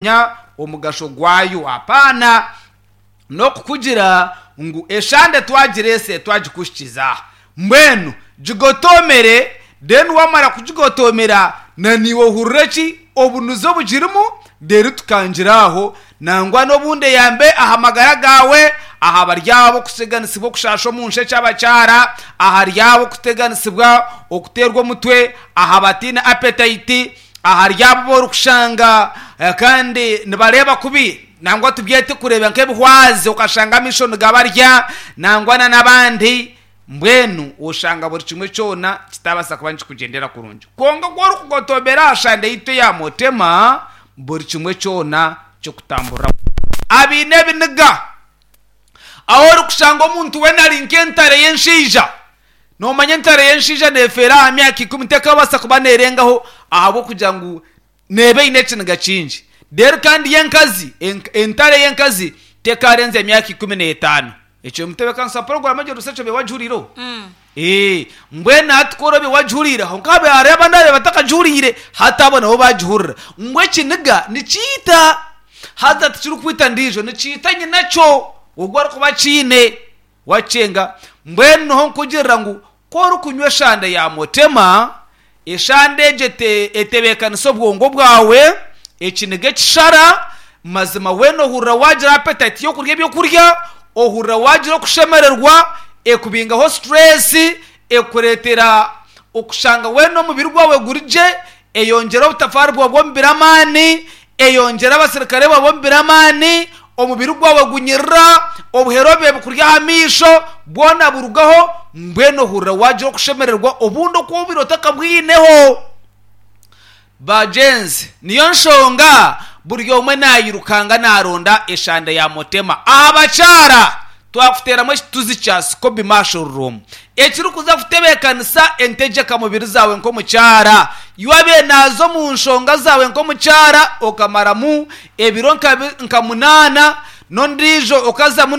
Manya omugasho gwayo. Apaana n'okukugira ngu eshande twagireese twagikuhikiza. Mbwenu gigotoomere, then waamara kugigotoomera na naiwe ohurire ki obunuzi obugirimu, reero tukangire aho. Nangwa n'obundi eyambe aha magara gaawe, aha bari abo okuteganisibwa okushaasha omu nshekye abakyara, ahari abo okuteganisibwa okuteerwa omutwe, aha bataine appetite, Ahari abo abu orikushanga kandi nibareeba kubi, nangwa tubyete kureeba nk'ebihwazi okashanga amaisho nigabarya nangwa n'abandi, mbwenu oshanga buri kimwe kyona kitabaasa kuba nikikugyendera kurungi. Kwonka ku orikugotomera aha shande yaitu eya Mutema, buri kimwe kyona kikutamburira kurungi. Abaine ebiniga, ahu orikushanga omuntu weena ari nk'entare y'enshaija, Noomanya entare y'enshaija neefeera aha myaka ikumi tekabaasa kuba neerengaho ahabw'okugira ngu neeba eine ekiniga kingi. Reero kandi yo enkazi, entare y'enkazi tekaarenzya myaka 15. Ekyo omutebeekanisa wa puroguraamu egyo Research obaire wagihuriireho? Ee, mbwenu hati ku oraabe wagihuriire, kwonka haabaire hariho abandi abaabaire batakagihuriire, hati abo nabo baagihurira. Ngu ekiniga nikiita, haza tikirikwita ndiijo, nikiita nyinakyo ogwo arikuba akiine. Wakyenga, mbwenu niho nkugirira ngu ku orikunywa eshande ya Mutema, eshande egyo etebeekanisa obwongo bwawe, ekiniga ekishara, mazima weena ohurira waagira appetite y'okurya ebyokurya, ohurira waagira okushemererwa, ekubingaho stress, ekureetera okushanga weena omubiri gwawe guri gye, eyongyera obutafaari bwawe bw'omubiri amaani, eyongyera abaserukare baawe b'omubiri amaani, omubiri gwawe gunyirira, obuhere obubaire bukurya aha maisho bwona burugaho, mbwenu ohurira waagira okushemererwa obundi oku obaire otakabwineho. Bagyenzi, niyo nshonga buri omwe naayirukanga naaronda eshande ya Mutema. Aha bakyara, twakuteeramu ekituzi kya Scoby Mushroom ekirikuza kutebeekanisa entegyeka mubiri zaawe nk'omukyara. Iwe naaza omu nshonga zaawe nk'omukyara okamaramu ebiro nka munaana n'ondiijo okazamu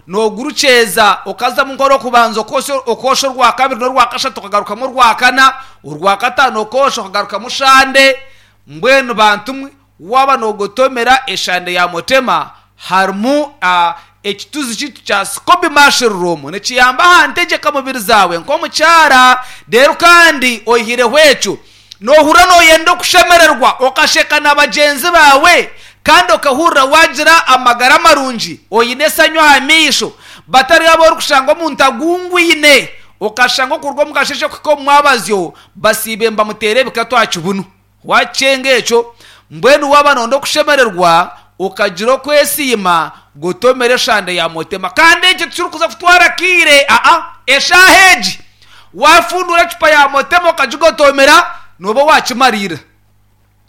noogurukyeza okazamu nk'orwokubanza okoosha orwakabiri n'orwakashatu okagarukamu orwakana, orwakataano okoosha okagarukamu shande. Mbwenu bantu mwe Waaba noogotomera eshande ya Motema, harimu ekituzi kyaitu kya Scoby Mushroom. Nikiyamba aha ntegyeka mubiri zaawe nk'omukyara. Reero kandi oihireho ekyo, noohurira nooyenda okushemererwa, okasheka na bagyenzi baawe kandi okahurira waagira amagara marungi, oine esanyu aha maisho. Batari abu orikushanga omuntu agungwine, okashanga okuruga omu kasheeshe kuhika omu mwabazyo basiibe nibamuteera ebikatu aha kibunu. Waakyenga ekyo, mbwenu waaba nooyenda okushemererwa, okagira okwesiima, gotomera eshande ya Motema. Kandi ekyo tikirikuza kutwara kaire, aa, eshaaha egi waafunduura ecupa ya Motema okagigotomera, nooba waakimariira.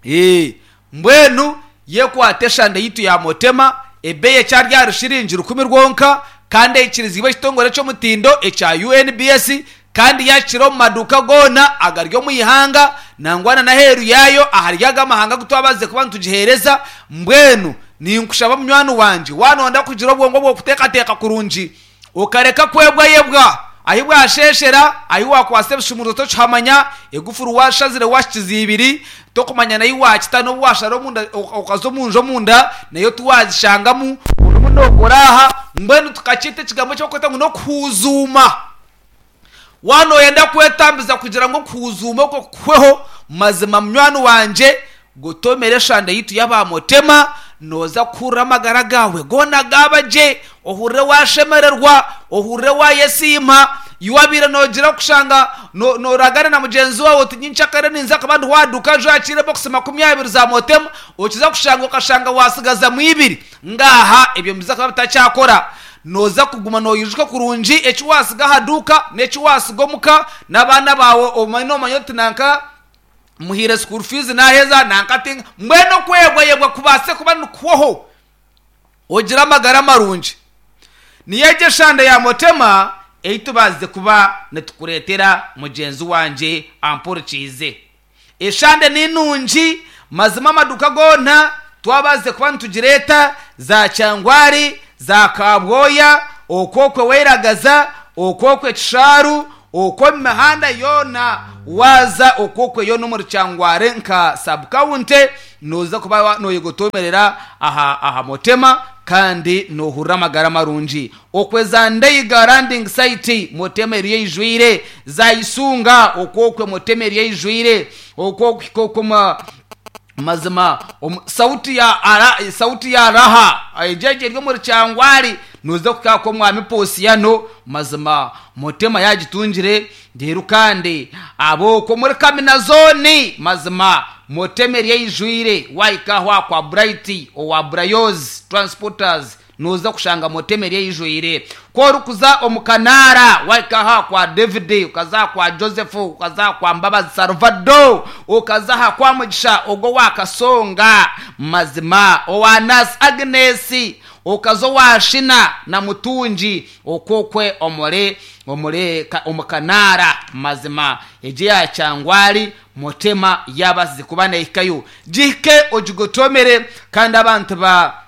Ee, mbwenu yekwate eshande yaitu ya Motema, ebeeyi ekyari ahari shiringi rukumi rwonka, kandi eikiriziibwe ekitongore ky'omutindo ekya UNBS, Kandi yaakira omu maduuka goona agari omu ihanga, nangwa na n'aheeru yaayo ahari ago amahanga agu twabaasize kuba nitugiheereza. Mbwenu ninkushaba munywani wangye, waaba nooyenda kugira obwongo bw'okuteekateeka kurungi, okareka kwebwayebwa ahi bwasheeshera, ahi waakwatsa ebishumuruzo tokihamanya, egufuru waashazire waahikiza ibiri, tokumanya n'ahi waakita, n'obu waashara omunda okaza omu nju omunda nayo tiwaagishangamu, orimu nookora aha. Mbwenu tukakyeta ekigambo eki barikweta ngu n'okuhuuzuuma. Waaba nooyenda kwetambiza kugira ngu okuhuuzuuma okwo kukuhweho, mazima munywani wangye, gotomera eshande yaitu y'aba Motema, nooza kuhurira amagara gaawe goona gaaba gye, ohurire waashemererwa, ohurire waayesiima. Iwe wabaire noogira kushanga nooragana na mugyenzi waawe oti nyenkyakare ninza kuba ndi waaduuka nju ahakiire bokisi 20 za Motema, okiza kushanga okashanga waatsigazamu ibiri. Ngaaha, ebyo nibiza kuba bitakyakora. Nooza kuguma noijuka kurungi eki waatsiga aha duuka n'eki waatsiga omuka, n'abaana baawe omanye noomanya oti nanka muhaire school fees naaheza, nanka ti. Mbwenu okwebwayebwa kubaase kuba nikuhwaho ogire amagara marungi. Niyo egyo eshande ya Motema ei tubaasize kuba nitukureetera mugyenzi wangye ampurikiize. Eshande ni nungi mazima amaduka goona twabaasize kuba nitugireeta za Kyangwari, za Kabwoya, okwo okwe Weiragaza, okwo okwe Kishaaru, Okwo omu mihanda yoona waaza okwo okwe yoona omuri Kyangware nka sub-county nooza kuba noyegotomerera aha aha Motema kandi noohurira amagara marungi. Okwe za Ndeiga landing site Motema eriyo eijwire, za Isunga okwo okwe Motema eriyo eijwire, okwo okuhika okwo omu Mazima omu sauti ya ara sauti ya raha egyo egyo eri omuri Kyangwali noza kuhika aha kw'omwami Posiano mazima Mutema yagitungire reero kandi ab'okwo omuri Kamina zooni mazima Mutema eri eijwire wahika aho aha kwa Bright owa Brayozi Transporters Nooza kushanga motema eri eijwire. Ku orikuza omu kanaara, wahika aha kwa David, okaza aha kwa Joseph, okaza aha kwa Mbabazi Salvado, okaza aha kwa Mugisha ogwo owa Kasonga, mazima owa Nurse Agnes, okaza owa Shina na Mutungi, okwo okwe omuri omuri omu kanaara, mazima egyo eya Kyangwali motema yaabasize kuba neehikayo. Gihike ogigotomere kandi abantu ba.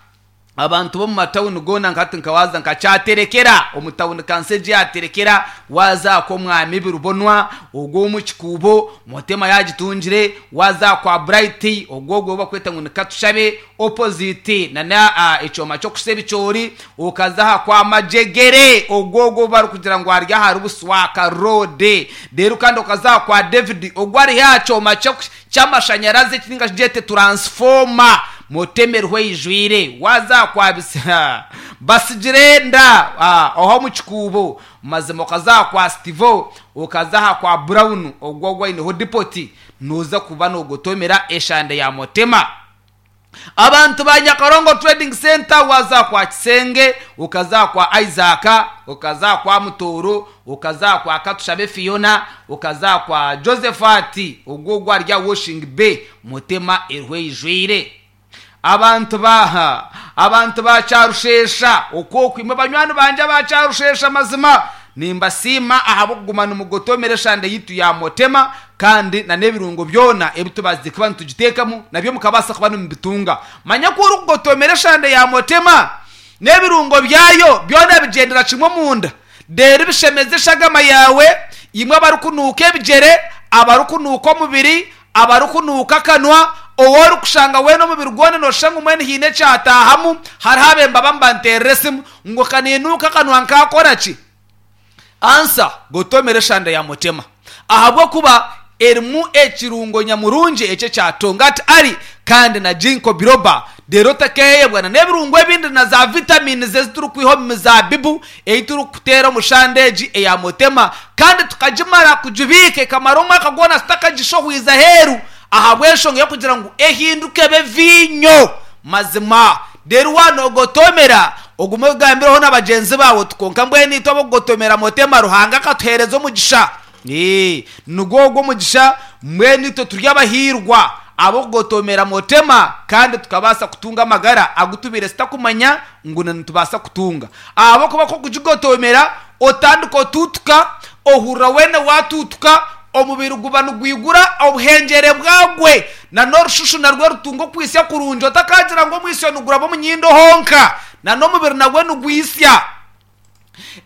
Abantu b'omu matawuni goona nka hati nka waaza nka Kyaterekera omu tawuni kanso egi ya Terekera, waaza aha kw'omwami Birubonwa ogwo ow'omu Kikuubo, Motema yaagitungire, waaza aha kwa Bright ogwo ogwo ou bakweta ngu ni Katushabe opposite na ekyoma ky'okusa ebicoori, okaza aha kwa Majegere ogwo ogwo ou barikugira ngu ari ahari Buswaka road, reero kandi okaza aha kwa David ogwo ari aha kyoma ky'amashanyarazi eki ninga shi gyete turansifooma muteme eriho eijwire waaza aha kwa Basigire enda aho omu kikuubo mazima okaza aha kwa Stivo okaza aha kwa Brown ogwo ogwo aineho dipoti nooza kuba noogotomera eshande ya Motema. Abantu ba Nyakarongo Trading Centre waaza aha kwa Kisenge, okaza aha kwa Isaac, okaza aha kwa Mutooro, okaza aha kwa Katushabe Fiona, okaza aha kwa Josephat, ogwo ogwo ari aha Washing Bay, Mutema eriho eijwire. Abantu ba abantu ba Kyarushesha, okwo okwo imwe banywani bangye aba Kyarushesha mazima Nimbasiima ahabw'okuguma nimugotomera eshande yaitu ya Motema kandi na n'ebirungo byona ebi tubaasize kuba nitugiteekamu nabyo mukabaasa kuba nimubitunga. Manya ku orikugotomera eshande ya Motema n'ebirungo byayo byona bigyendera kimwe omunda reero bishemeza eshagama yaawe. Imwe abarikunuuka ebigyere, abarikunuuka omubiri, Abarikunuuka akanwa, ou orikushanga weena omubiri gwona nooshusha ngu mbwenu haine ekyataahamu. Hariho abemba abamwe banteerera esimu ngu ka niinuuka akanwa nkaakora ki? Ansa, Gotomera eshanda ya Mutema ahabw'okuba erimu ekirungo nyamurungi ekyo ekya Tongat Ali kandi na Ginkgo biloba. Reero otakeeyebwa na n'ebirungo ebindi na za vitamins ezi turikwiha omu mizaabibu ei turikuteera omu shanda egi eya Motema kandi tukagimara kugibiika ekamara omwaka gwona tutakagishohwize aheeru ahabw'enshonga y'okugira ngu ehinduke ebe viinyo. Mazima, reero waanogotomera ogume ogambireho na bagyenzi baawe oti, Kwonka mbwenu itwe ab'okugotomera Motema, Ruhanga akatuheereza omugisha. Ee, nigwo ogwo omugisha, mbwenu itwe turi abahiirwa ab'okugotomera Motema kandi tukabaasa kutunga amagara agu tubaire tutakumanya ngu nitubaasa kutunga. Ahabw'okuba ku okugigotomera, otandika otuutuka, ohurira weena waatuutuka, omubiri guba nigwigura obuhengyere bwagwe, na n'orushushu narwo rutunga okwitsya kurungi, otakaagira ngu omwitsyo niguraba omu nyindo honka, na n'omubiri nagwo nigwitsya.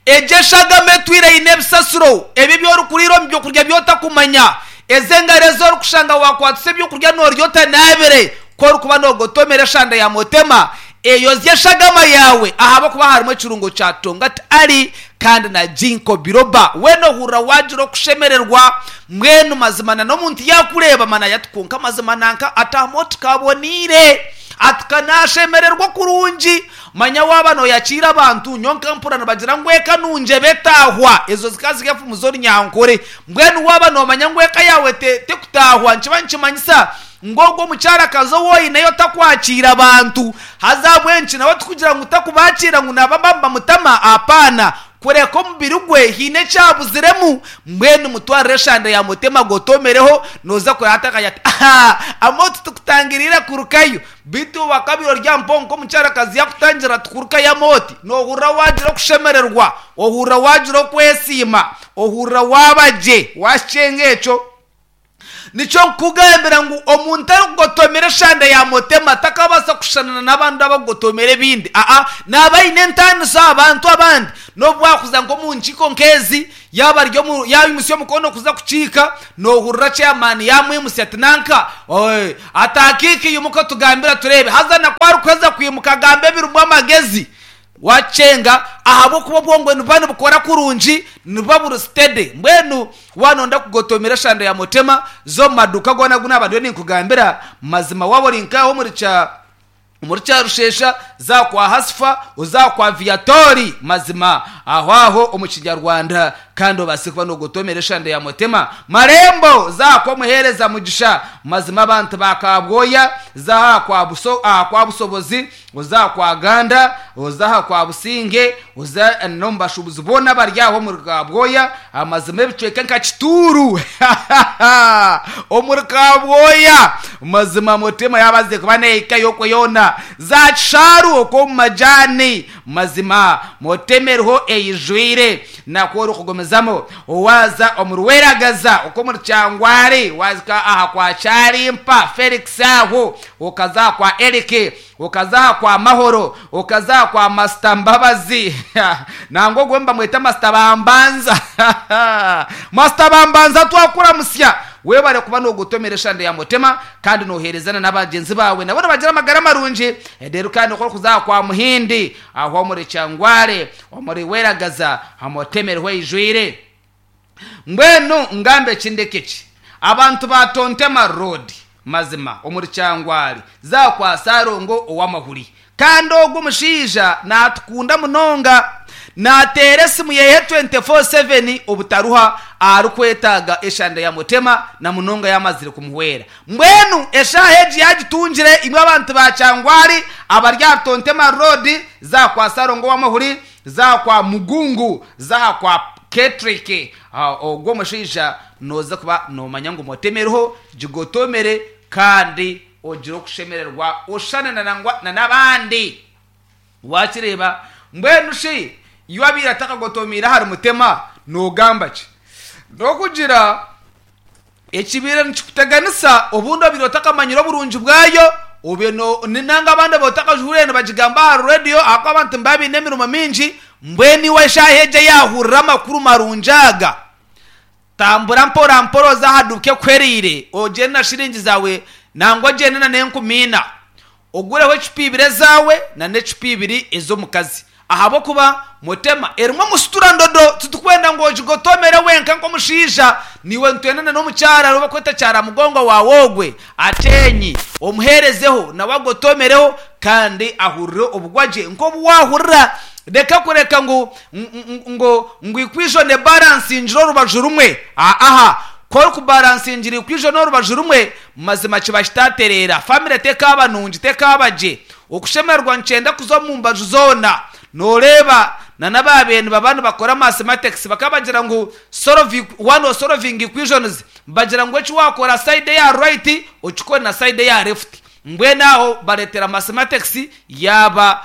Egyo eshagama etwire eine ebisasiro, ebi ebi orikuriira omu by'okurya bi otakumanya, ezo engaro ezi orikushanga waakwatisa eby'okurya noorya otanaabire, ku orikuba noogotomera eshanda ya motema, eyozya eshagama yaawe ahabw'okuba harimu ekirungo kya Tongat Ali kandi na Ginkgo biloba. Weena ohurira waagira okushemererwa, mbwenu mazima na n'omuntu yaakureeba manya ati kwonka mazima nanka ataamu oti kaboneire, ati ka naashemererwa kurungi. Manya waaba nooyakiira abantu, nyowe nkampurira nibagira ngu eka nungi eba etaahwa. Ezo zikaba ziri enfumu z'orunyankore. Mbwenu waaba noomanya ngu eka yaawe tekutaahwa, nikiba nikimanyisa ngu ogwo omukyarakazi ou oineyo takwakiira bantu. Haza ahabw'enki nawe tikugira ngu takubakiira ngu naaba nibamutama, apaana. Kureka omubiri gwe haine eki abuziremu, mbwenu mutwarire eshande ya mutema gotomereho, noza kureba hati akagira ati, Ahaa, Amooti tukutangiriire kurukayo. Beitu wakabaire ori aha mpongo nk'omukyarakazi yakutangira ati kurukayo Amooti, nohurira wagira okushemererwa, ohurira wagira okwesiima, ohurira waaba gye, waakikyenga ekyo. Nikyo nkukugambira ngu omuntu arikugotomera eshanda ya Motema takabaasa kushushana n'abandi abarikugotomera ebindi. Aa, naaba aine entaaniso aha bantu abandi. N'obu waakuza nk'omu nkiiko nk'ezi, yaaba ari omu, yaimutsya omukono kuza kukiika, noohurira chairman yaamwimutsya ati, Nanka, oi, ataakiika imuka otugambire tureebe. Haza na ku arikuheza kwimuka agamba ebirimu amagezi. Waakyenga ahabw'okuba obwongo nibuba nibukora kurungi, nibuba buri steady. Mbwenu waaba nooyenda kugotomera eshanda ya Motema, za omu maduuka goona agu naaba ndiyo ninkugambira. Mazima waaba ori nk'aha omuri kya omuri Kyarushesha, za kwa Hasifa, oze aha kwa Viatori, mazima aho aho omu Kinyarwanda kandi obaase kuba noogotomera eshanda ya Motema. Marembo, za aha kw'omuheereza Mugisha, mazima abantu ba Kabwoya, za aha kwa Buso aha kwa Busobozi, Oze aha kwa Ganda, oze aha kwa Businge, oze n'omu bashuubuzi boona abari aho omuri Kabwoya, amazima ebicweka nka Kituuru omuri Kabwoya, mazima Mutema yaabazize kuba neehikayo okwo yoona, za Kishaaru okwo omu majaani, mazima Mutema eriho eijwire. Nakwo orikugumizamu waaza omu Rweragaza okwo omuri Kyangwari, waahika aha kwa Kyarimpa Felix aho, okaza aha kwa Eric, Okaza aha kwa Mahoro, okaza aha kwa Masita Mbabazi, nangwa ogwo nibamweta Masita Bambanza. Masita Bambanza twakuramutsya. Webare kuba nogotomera eshande ya Mutema kandi noherezana n'abagyenzi baawe nabo nibagira amagara marungi. Reero kandi ku orikuza aha kwa Muhindi, aho omuri Kyangware, omuri Weragaza, Mutema eriho eijwire. Mbwenu ngambe ki ndeke ki? Abantu ba Tontema Road mazima omuri Kyangwali za kwa Salongo ow'amahuri. Kandi ogwo omushaija natukunda munonga. Nateera esimu yehe 24/7 obutaruha aharikwetaaga eshanda ya Mutema na munonga yamazire kumuhwera. Mbwenu eshaaha egi yagitungire imwe abantu ba Kyangwali abari ahari Tontema Road za kwa Salongo ow'amahuri za kwa Mugungu za kwa Ketrick, Ogwo omushaija nooza kuba noomanya ngu motema eriho, gigotomere kandi ogire okushemererwa oshushane nangwa na n'abandi. Waakireeba? Mbwenu shi iwe abaire atakagotomeire ahari mutema noogamba ki? N'okugira Ekibaire nikikuteganisa, obundi obaire otakamanyire oburungi bwayo, obaire no, nanga abandi obaire otakajuhuriire nibagigamba aha rediyo ahakuba abantu nibaba baine emirimo mingi, mbwenu iwe eshaaha egi eyaahurira amakuru marungi aga, tambura mpora mpora oze aha duuka ekuhwereire, ogyende na shiringi zaawe nangwa ogyende na n'enkumi ina. Ogureho ecupa ibiri ezaawe na n'ecupa ibiri ez'omukazi, ahabw'okuba Mutema erimu omusitura ndodo. Titukwenda ngu ogigotomere wenka nk'omushaija, naiwe nitwenda na n'omukyara ou barikweta kyaramugongo waawe ogwe ateenyi, omuheerezeho nawe agotomereho kandi ahurire obugwagye nk'obu waahurira. Reka kureka ngu ngu ngu equation ebaransingire orubaju rumwe. Aaha, ku orikubaransingira equation orubaju rumwe, Mazima kiba kitatereera. Famire tekaaba nungi, tekaaba gye. Okushemererwa nikyenda kuza omu mbaju zoona. Noreeba na n'abaabaire nibaba nibakora mathematics bakaba bagira ngu solve one or solving equations bagira ngu eki waakora side eya right okikore na side eya left. Mbwenu aho bareetera mathematics yaaba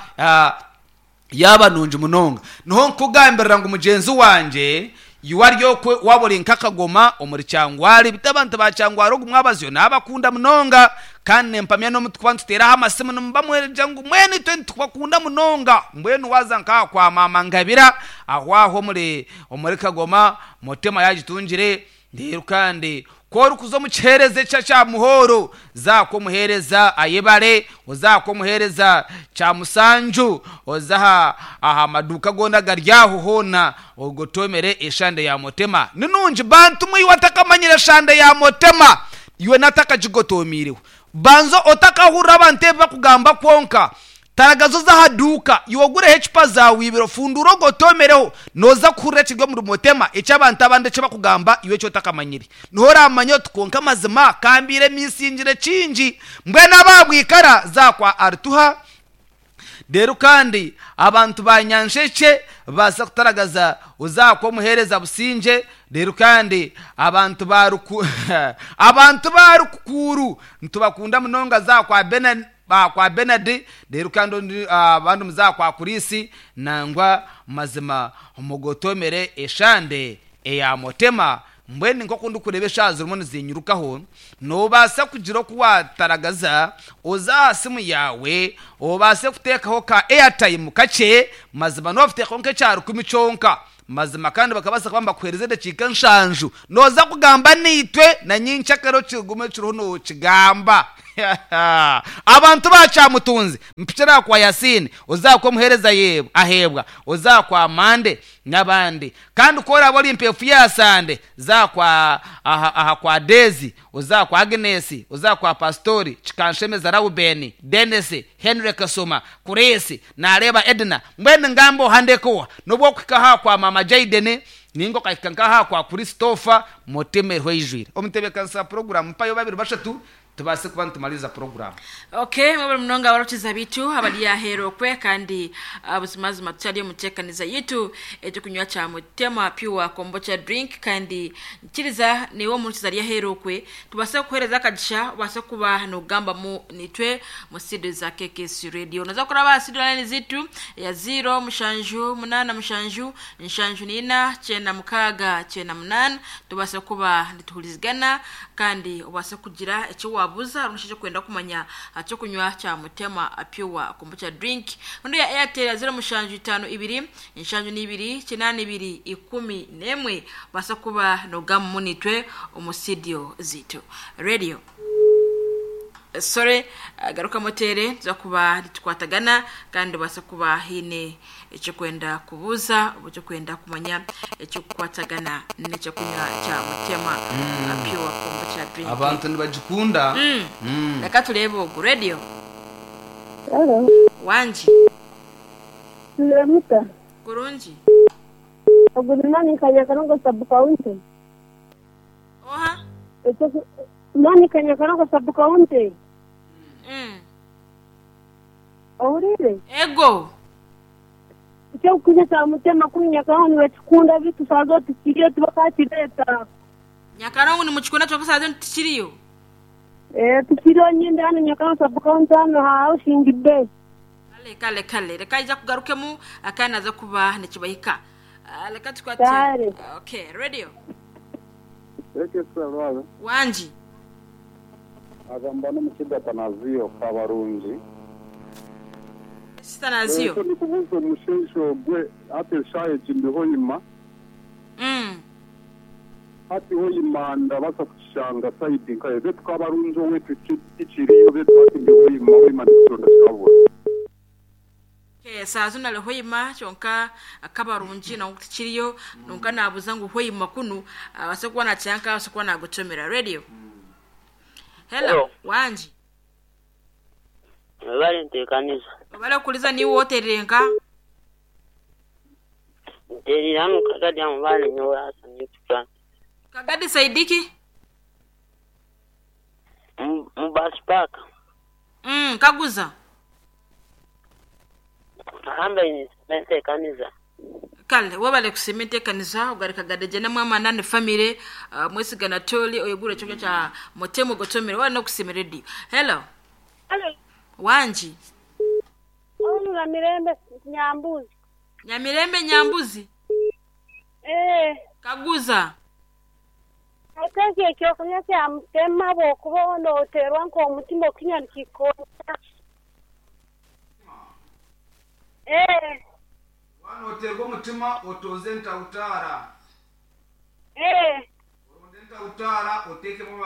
Yaaba nungi munonga. Niho nkukugambirira ngu mugyenzi wangye, iwe ari okwe waaba ori nk'akagoma omuri Kyangwali, beitu abantu ba Kyangwali ogu mwabazyo naabakunda munonga, kandi nimpamya n'omu tukuba nituteeraho amasimu nimuba mwegira ngu mbwenu itwe nitukubakunda munonga. Mbwenu waaza nk'aha kwa maama Ngabira aho aho omuri omuri Kagoma, Mutema yaagitungire. Reero kandi ku orikuza omu kiheereza ekya kya muhooro, za aha kw'omuheereza Ayebare, oze aha kw'omuheereza Kyamusanju, oze aha aha maduuka goona agari aho hoona ogotoomere eshande ya Motema. Ni nungi. Bantu mwe iwe atakamanyire shande ya Motema, iwe n'atakagigotoomiireho. Banza otakahurira abantu ebi bakugamba kwonka. Taragaza oze aha duuka, iwe ogureho ecupa zaawe ibiri ofunduure ogotomereho, nooza kuhurira ekiri omuri Motema eki abantu abandi eki bakugamba iwe eki otakamanyire. Niho oraamanya oti kwonka amazima ka mbaire misingire kingi. Mbwenu aba bwikara za kwa Arituha. Reero kandi abantu ba Nyanshekye baza kutaragaza oze aha kw'omuheereza Busingye. Reero kandi abantu ba Ruku abantu ba Rukukuuru nitubakunda munonga za kwa Bena. Ba kwa Benadi, reero kandi ondi abandi muze aha kwa Kurisi, nangwa mazima mugotomere eshande eya Mutema. Mbwenu nk'oku ndikureeba eshaaha zirimu nizinyirukaho, noobaasa kugira oku waataragaza oze aha simu yaawe obaase kuteekaho ka airtime kakye, mazima noba oteekaho nk'ekya rukumi kyonka, mazima kandi bakabaasa kuba nibakuheereza edakiika nshanju nooza kugamba naitwe na nyenkyakare okigume kiriho nookigamba. Abantu ba Kyamutunzi, mpikire aha kwa Yasiini, oze aha kw'omuheereza Aheebwa, oze aha kwa Mande n'abandi. Kandi ku oraabe ori mpeefu ya Sande, za aha kwa aha aha kwa Deezi, oze aha kwa Aginesi, oze aha kwa Pasitori, Kikanshemeza Raubeni, Denisi, Henry Kasoma, Kuresi, naareeba Edna, mbwenu ngambe oha ndeke oha? N'obu okuhika aha kwa Maama Jaideni, nainga okahika nk'aha kwa Christopher, Mutima eriho eijwire. Omutebeekanisa wa puroguraamu, mpayo babiri bashatu Tubaase kuba nitumariiriza puroguraamu. Ok mwebale munonga abarokiza bitu abari aheru okwe kandi buzimazima tukyari omu ntekaniza yitu ekyokunywa kya Mutema Pure Kombucha Drink kandi nkiriza naiwe omurokiza ari aheru okwe tubase kukuhereza akagisha obase kuba nogambamu nitwe mu studio za KKC Radio. Noza kuraba aha studio line zitu eya ziiro mushanju munana mushanju nshanju nina kyenda mukaaga kyenda munana tubase kuba nituhurizigana Kandi obaase kugira eki waabuuza rundi shi eki orikwenda kumanya aha ky'okunywa kya Mutema Pure Kombucha Drink. Rundi eya Airtel ya 07 52 72 82 11 obaase kuba noogambamu naitwe omu studio zaitu. Radio. Sorry, garukamu oteere nituza kuba nitukwatagana kandi obaase kuba haine Eky'okwenda kubuuza oba eky'okwenda kumanya ekirikukwatagana n'ekyokunywa kya Mutema Pure Kombucha Drink. Abantu nibagikunda. Reka tureebe ogu. Radio. Halo. Wangi. Mwiriwe muta? Kurungi. Ogu ni Monica Nyakarongo sub county. Oha? Monica Nyakarongo sub county. Ohuriire? Ego. Eky'okukuza kya Mutema kunu Nyakarongo nibakikunda beitu shaaha zoona tikiriyo tibakakireeta. Nyakarongo nimukikunda kyonka shaaha zoona tikiriyo? Ee tikiriyo nyine hanu Nyakarongo sub county hanu aha Housing Bay. Kale kale kale reka aija kugarukemu kandi naza kuba nikibahika. Reka tukwate. Kale. Okay, radio. Ekesura lwabe. Wangi. Agamba n'omukiga Tanaziyo Kabarungi. Esi Tanaziyo. Ekyo nikubuuza omushaija ogwe hati eshaaha egi ndi Hoima. Hati Hoima ndabaasa kukishanga sayidi nkahe? Beitu Kabarungi owaitu tikiriyo beitu hati ndi Hoima, Hoima ndikukironda kikabura. Okay, saaha zinu ari Hoima kyonka Kabarungi nangwa tikiriyo kwonka naabuuza ngu Hoima kunu abaase kuba naakira nkahi abaase kuba naagotomera. Radio. Hello, Hello. wangi. Webale nteekaniza. Webale kuhuriza niiwe oterire nka? Ntereire hanu Kagadi aha Mubale nyowe Hassan Yusuf. Kagadi sayidi ki? Mu bus park. Kaguza. Ahambaine nsiima enteekaniza. Kale webale kusiima enteekaniza ogareka Gadegye na mwamana ne family Mwesiga Anatoli oyegure ekyokurya kya Mutema ogotomere webale nokusiima radio. Hello. Hello. Wangi. Onu Namirembe Nyambuzi. Nyamirembe Nyambuzi. Eeh. Kaguza. Hati ekyo ekyokunywa kya Mutema bwokuba noterwa nk'omutima okukinywa nikikukonyera. Eeh. Waaba nooteerwa omutima otooze entawutaara. Eeh. Oronde entawutaara oteekemu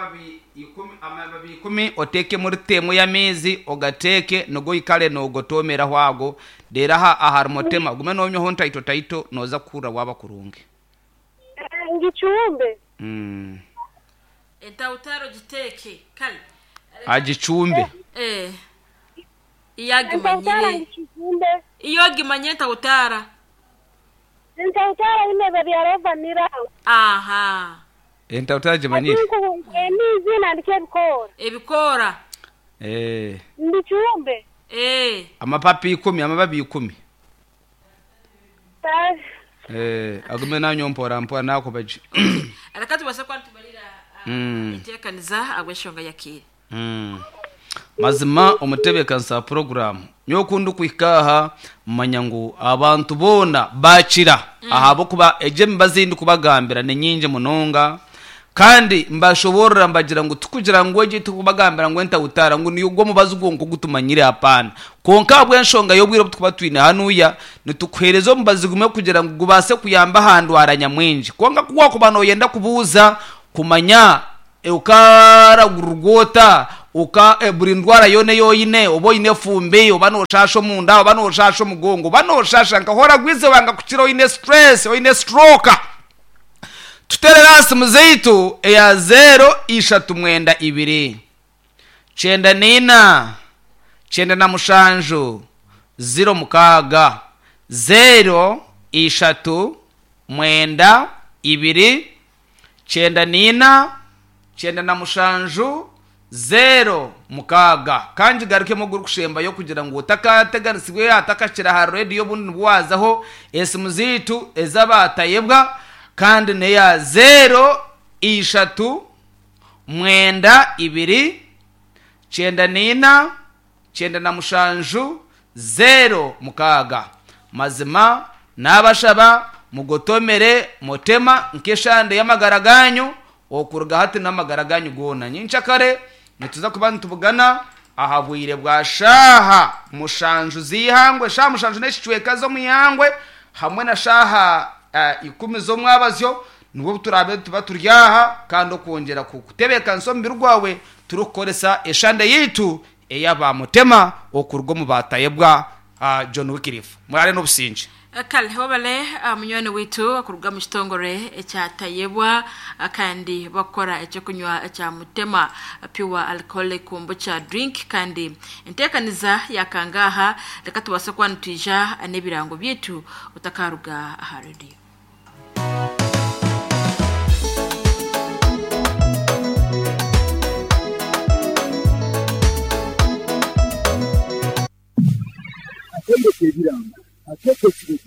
amababi ikumi oteekemu rita emwe y'amaizi ogateeke nigo oikare noogotoomeraho ago reero aha ahari mutema ogume noonywaho ntaito taito nooza kuhurira waaba kurungi. Eeh ngicumbe. Entawutaara ogiteeke kare. Agicumbe. Eeh. Iyo Entawutaara agimanyire. ngicumbe. Iyo ogimanyire entawutaara. Entawutaara imeze bya Rovanira. Aha. Entawutaara agimanyire. Hati emiizi nandiki ebikoora. Ebikoora. Eeh. Mbicumbe. Eeh. Amapapi ikumi, amababi ikumi. Kale. Eeh, agume nanywa mpora mpora nakuba gye. Reka tubaase kuba nitumarira enteekaniza ahabw'enshonga y'akaire. Mazima omutebeekanisa wa puroguraamu, nyowe ku ndikuhika aha manya ngu abantu boona baakira ahabw'okuba egyo emibazi ei ndikubagambira ni nyingi munonga. Kandi mbashoboorora mbagira ngu tikugira ngu egi tikubagambira ngu entawutaara ngu niyo omubazi gwonka ogu tumanyire apaana. Kwonka ahabw'enshonga y'obwire obu tukuba twine hanuya, nitukuheereza omubazi gumwe kugira ngu gubaase kuyamba aha ndwara nyamwingi. Kwonka ku waakuba nooyenda kubuuza kumanya okaragurirwa ota, oka buri ndwara yoona ei oine, oba oine efumbi, oba nooshaasha omunda, oba nooshaasha omugongo, oba nooshaasha nka horagwize wanga kukira oine stress, oine stroke. Tuteerere aha simu zaitu eya zeero ishatu mwenda ibiri, kyenda naina, 97, 06. Zeero ishatu mwenda ibiri, 94, 97, 06. Ka ngigarukemu ogurikushembayo kugira ngu otakateganisibwa atakakira aha rediyo obundi nibwo waazaho. Esimu zaitu ez'abaatayebwa kandi n'eya zeero ishatu mwenda ibiri, 94, 97, 06. Mazima naabashaba mugotomere mutema nk'eshande y'amagara gaanyu okuruga hati n'amagara gaanyu goona. Nyenkyakare nituza kuba nitubugana aha bwire bwa shaaha mushanju z'eihangwe, shaaha mushanju n'ekicweka z'omu ihangwe hamwe na shaaha ikumi z'omwabazyo nibwo obu turaabe nituba turi aha kandi okwongyera kutebeekanisa omubiri gwawe turikukoresa eshande yaitu ey'aba Mutema okuruga omu baatayebwa John Wycliffe. Muraare n'obusingye. Kale webale munywani waitu kuruga omu kitongore ekya Tayebwa kandi bakukora ekyokunywa ekya Mutema Pure Alcoholic Kombucha Drink kandi entekaniza yakangaaha reka tubaase kuba nitwija n'ebirango byaitu otakaruga aha radio. Akaire k'ebirango akeekekire.